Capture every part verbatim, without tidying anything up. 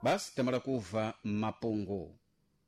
Basi tamala kuva mapungu,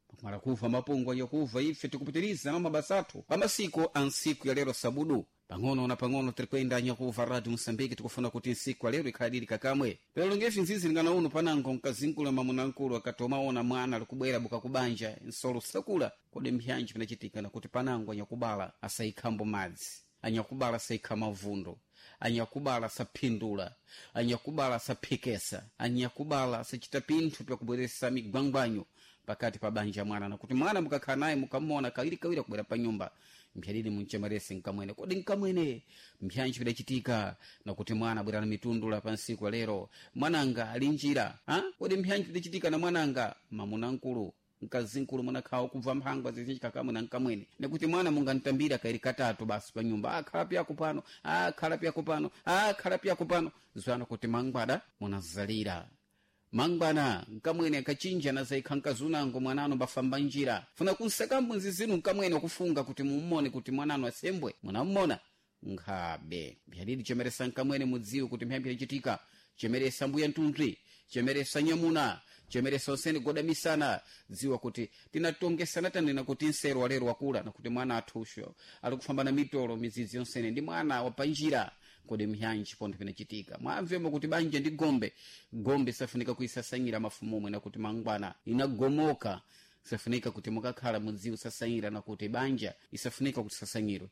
pakumala kuva mapungu anyakuva, ife tikupitiriza na mabasa athu pamasiku a nsiku ya lero sabudu. Pang'ono na pang'ono tirikwenda, anyakuva Radio Moçambique. Tikufuna kuti nsiku ya lero ikhalidili kakamwe. Pero ngefi nzizi lingana uno panango mkazinkula mamunankulu akati omaona mwana alikubwera buka kubanja nsolo sakula, kodi mpyanji pinachitika? Nakuti panango anyakubala asayikhambo madzi, anyakubala asayikha mavundo, anyakubala asaphindula, anyakubala asaphikesa, anyakubala asachita pinthu pyakubweresa migwangwanyo pakati pa banja mwana. Nakuti mwana mukakhala naye, mukamona kawiri kawiri akubwera pa nyumba, mphyadidi munchemerese nkamwene, kodi nkamwene mpyanji pidachitika? Nakuti mwana abwera na mitundula pa nsiku ya lero, mwananga ali njira ha? Kodi mpyanji pidachitika na mwananga? Mamuna nkulu, mkazinkulu, munakhawa kubva mphangwa zizinji na nkamwene, nekuti mwana mungantambira kairi katatu basi pa nyumba, akhala pyako pano, akhala pyako pano, akhala pyako pano, zwana kuti mangwada munazalira mangwana nkamwene akachinja nazaikha nkazunango mwanano bafamba njira funa kunsakambo nzizinu nkamwene kufunga kuti mummone kuti mwanano asembwe munammona nkhabe. Mphyanidi chemeresa nkamwene, mudziwe kuti mphyambi yachitika. Chemeresa mbuya ntunzwi, chemeresa nyamuna, chemeresa onsene godamisana. Dziwa kuti tinatongesana, tanena kuti nsero walero wakula, nakuti mwana athusho ali kufamba na mitolo midzidzi yonsene ndi mwana wapanjira. Kodi mphyanji pontho pinachitika? Mwamvemo kuti banja ndi gombe, gombe safunika kuisasanyira mafumumwe, nakuti mangwana inagomoka. Safunika kuti mukakhala mudziwe sasanyira, nakuti banja isafunika kuti sasanyirwe.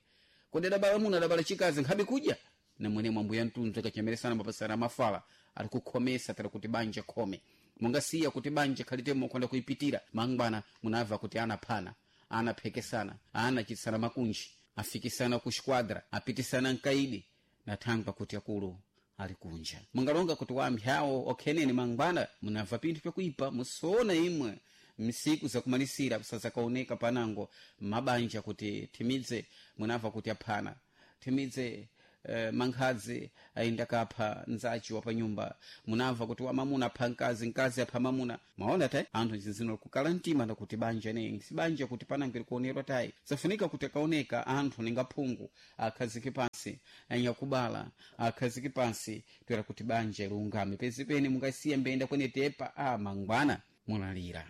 Kodi adabala muna, adabala chikazi, nkhabe kudya namwene mwambuya mtunzi akachemeresana mapasana mafala ali kukhomesa tala kuti banja khome. Mungasiya kuti banja khalitemo kwenda kuipitira, mangwana munabva kuti anaphana, anaphekesana, anachitsana makunji, afikisana ku xquadra, apitisana mkaidi, nathangwa kuti akulu ali kunja. Mungalonga kuti wampyawo okhenene, mangwana munabva pinthu pyakuipa musoona imwe msiku zakumalisira sazakaoneka panango mabanja kuti thimidze munabva kuti aphana, thimidze eh, mankhadzi ayenda kapha nzachi wa panyumba, munamva kuti wamamuna apha mkazi, mkazi apha mamuna. Mwaona tayi anthu zinzino kukala mtima, nakuti banja ne si banja kuti panango likuonerwa tayi. Safunika kuti akaoneka anthu ninga phungu akhazike pansi, anyakubala akhazike pansi, toera kuti banja liungame pezipene. Mungasiya mbenda kwene tepa a mangwana mulalira.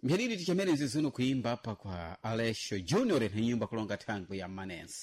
Mphiriri tichamene zizino kuimba apa kwa Alexio Junior na nyimba kulonga thangwi ya Manense.